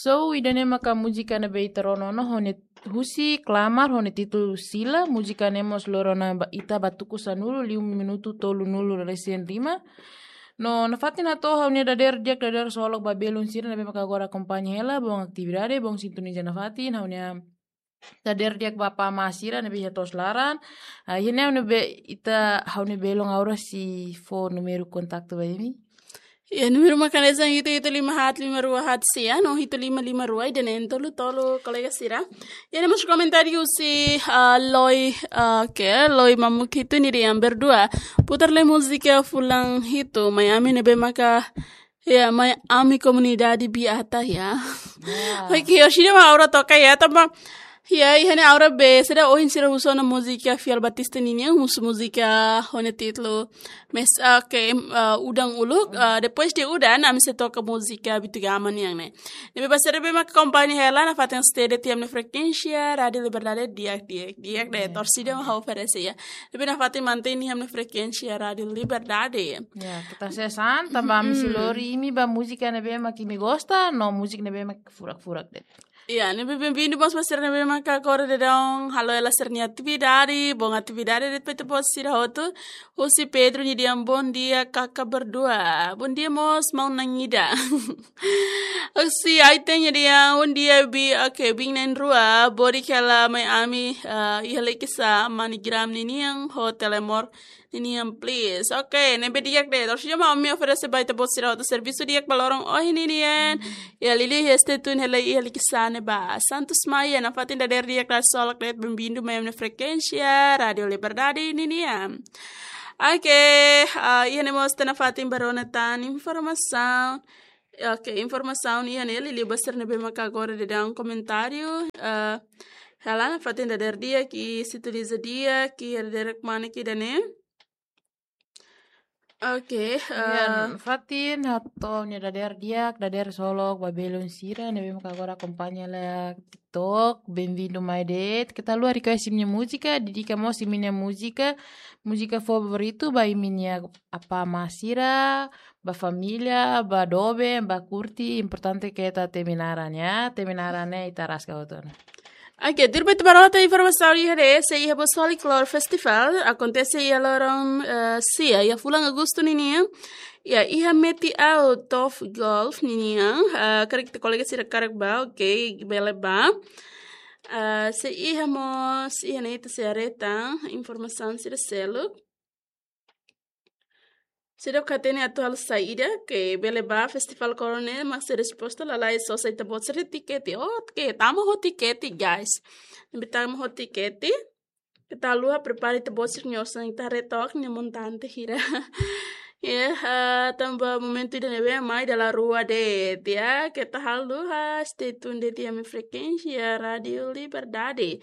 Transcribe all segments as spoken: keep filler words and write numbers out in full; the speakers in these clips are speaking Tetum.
So, ida-ne'e maka múzika ne'ebé ita rona ona ho nia husi Klamar ho nia títulu Sila, múzika ne'e mós loron ne'e ba, ita ba tuku sanulu liu minutu tolunulu resin lima. No, nafatin hato'o ha'u-nia dadeer di'ak, dadeer solok ba belun sira ne'ebé maka agora akompaña hela, boot atividade, boot sintoniza nafatin, ha'u-nia dadeer di'ak ba apá amá sira ne'ebé iha to'os laran. Ah, iha ne'e ne'ebé ita ha'u-nia belun Aura sei fó númeru kontaktu ba imi. Ya, númeru maka hanesan hitu hitu lima haat lima rua haat sia, no hitu lima lima rua, ida-ne'e tolu tolu kolega sira. Ya, ne'e mós komentáriu husi, ah, Loi, ah, ke, Loi Mamuk hitu nia dehan berdua. Putar lai múzika fulan hitu, mai ami ne'ebé maka, ya, mai ami komunidade Biata ya. Ya. Oke, orsida mak Aura toka ya, tanba ya, iha ne'e Aura be, sira ohin sira husu ona múzika Fiel Batista ninian, husu múzika ho nia títulu Mes, ah, oke, ah, Udan Uluk, ah, depois de Udan, ami sei toka múzika Bitugama nian ne'e. Ne'ebé ba sira ne'ebé maka akompaña hela, nafatin stay de'it iha ami-nia frekuénsia Rádiu Liberdade di'ak, di'ak, di'ak de'it, ya, torsida mak ha'u oferese ya. Ne'ebé nafatin mantein iha ami-nia frekuénsia Rádiu Liberdade. Ya, keta sesán, tanba ami sei lori imi ba múzika ne'ebé mak imi gosta, no múzika ne'ebé mak furak-furak de'it. Ya, ne'ebé benvindu mós ba sira ne'ebé maka agora daudaun halo hela sira-nia atividade, boot atividade de'it ba ita-boot sira hotu. Husi Pedro nia dehan bondia kaka berdua. Bondia mós maun na'in ida. Husi Aiten nia dehan bondia bi, oke, biin na'in rua, bodi kela mai ami, ah, iha Likisá, MoneyGram ninian, ho Telemor ninian, please. Oke, ne'ebé di'ak de'it. Orsida mak ami oferese ba ita-boot sira hotu servisu di'ak ba loron ohin ninian. Ya, liuliu iha stay tune hela iha Likisá ne'ebá. Santos Maia, nafatin dadeer di'ak, dadeer solok de'it, benvindu mai ami-nia frekuénsia Rádiu Liberdade ninian. Oke, ah, iha ne'e mós ita nafatin bá rona tan informasaun. Oke, informasaun iha ne'e, liuliu ba sira ne'ebé maka agora daudaun komentáriu. Ah, hela nafatin dadeer di'ak, sintoniza di'ak, iha dadeer-rek manik ida-ne'e. Oke, ya, eh, nafatin hato'o ha'u-nia dadeer di'ak, dadeer solok ba belun sira ne'ebé maka agora akompaña hela TikTok, benvindu mai de'it. Keta haluha request imi-nia múzika, dedika mós imi-nia múzika, múzika favoritu ba imi-nia apá amá sira, ba família, ba doben, ba kurti, importante keta temi naran ya, temi naran ne'e ita rasga hotu ona. Oke, tuirmai ita bá rona tan informasaun iha ne'e, sei iha Bosoli Klore Festival, akontese iha loron, eh, sia, iha fulan Agostu ninian. Ya, iha Metiau Turf Golf ninian, eh, karik ita kolega sira hakarak bá, oke, bele bá. Eh, sei iha mós, iha ne'e ita sei haree tan informasaun sira seluk. Seidauk hatene atu halo saida, ke bele bá Festival Klore ne'e, mas sei resposta lalais sosa ita-boot sira tikete. Oh, ke tama ho tikete, guys. Ne'ebé tama ho tikete. Keta haluha prepara ita-boot sira-nia osan, ita haree took nia montante hira. Ya, ah, tanba momentu ida-ne'ebé mai dala rua de'it ya. Keta haluha, stay tune de'it iha ami-nia frekuénsia Rádiu Liberdade.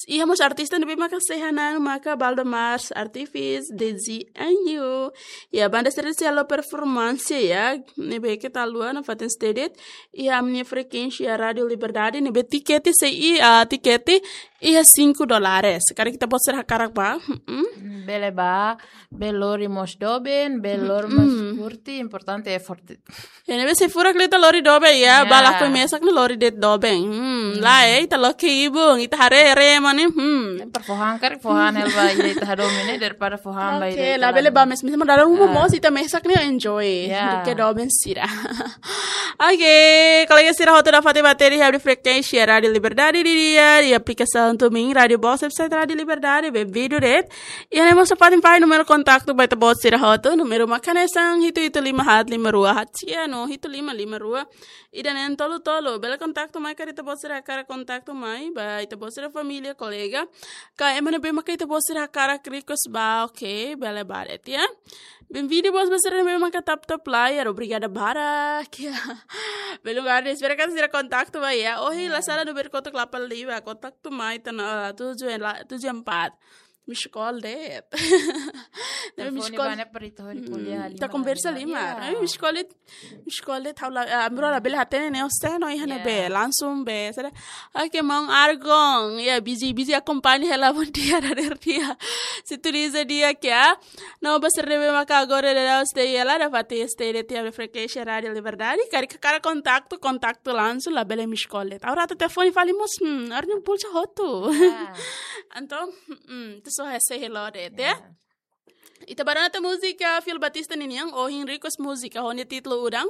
Iha mós artista ne'ebé maka sei hanan maka Baldomar Artifis, Dezi Anjo. Ya, banda sira sei halo performance ya. Ne'ebé keta haluha nafatin stay de'it iha ami-nia frekuénsia Rádiu Liberdade. Ne'ebé tikete sei iha, ah, tikete iha cinco dólares. Karik ita-boot sira hakarak bá. Mm-mm. Bele bá, bele lori mós doben, bele lori mós kurti, importante effort. Ya, ne'ebé sei furak liu ita lori doben ya, ya, bá lakohi mesak ne'e lori de'it doben. Hmm, lae, ita loke ibun, ita haree rema ne'e, hmm. Para fó han, karik fó han hela ba ita hadomi ne'e, daripada fó han ba ida. Oke, ita labele bá mes-, mes, mas dala ruma mós ita mesak ne'e enjoy. Ya. Duké doben sira. Oke, kolega sira hotu nafatin bá hatene iha ami-nia frekuénsia Rádiu Liberdade nian, iha aplikasaun TuneIn, Rádiu Box, website Rádiu Liberdade, benvindu de'it. Iha ne'e mós nafatin fahe númeru kontaktu ba ita-boot sira hotu, númeru maka hanesan hitu hitu lima haat lima rua haat sia no hitu lima lima rua ida-ne'e tolu tolu. Bele kontaktu mai karik ita-boot sira hakarak kontaktu mai, ba ita-boot sira família, kolega. Ka ema ne'ebé maka ita-boot sira hakarak request bá, oke, bele bá de'it ya. Benvindu mós ba sira ne'ebé maka tap tap layar, obrigada barak ya. Belum ada, espera katak sira kontaktu mai ya. Ohin la sala númeru kotuk delapan lima, kontaktu mai tan, eh, tujuh la-, tujuh empat. miss call de'it. Ne'ebé miss Telefone call. ba ne'e para ita hodi ko'alia Hmm, halimar ita konversa halimar. halimar. Ya. Eh, miss call de'it, miss call de'it, ha'u la, ah, ami rua labele hatene ne'e, osten no iha ne'ebé, Ya. langsung be, saida. Oke, maun Argon, ya, busy, busy akompaña hela, bom dia, dader dia. Sintoniza di'ak ya. No, ba sira ne'ebé maka agora daudaun stay hela, dapat stay de'it iha frekuénsia Rádio Liberdade. Karik hakarak kontaktu, kontaktu langsung, labele miss call de'it. Agora atu telefone fali mós, hmm, agora ne'e pulsa hotu. Ya. Entaun, hmm, ita só hese hello de'it, ya. Ita bá rona tan múzika Phil Batista ninian, ohin request múzika ho nia títulu Udan.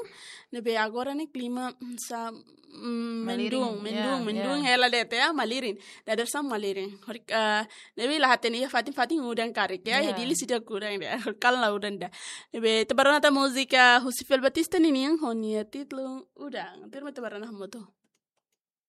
Ne'ebé agora ne'e klima, mm, sa, mm, Malirin, mendung, mendung, ya, mendung ya. Hela de'it ya, malirin. Dader sa malirin. Horik, eh, ne'ebé la hatene iha fatin-fatin udan karik ya, Ya. iha Dili seidauk udan de'it. Kal la udan ida. Ne'ebé ita bá rona tan múzika husi Phil Batista ninian ho nia títulu Udan. Tuirmai ita bá rona hamutuk.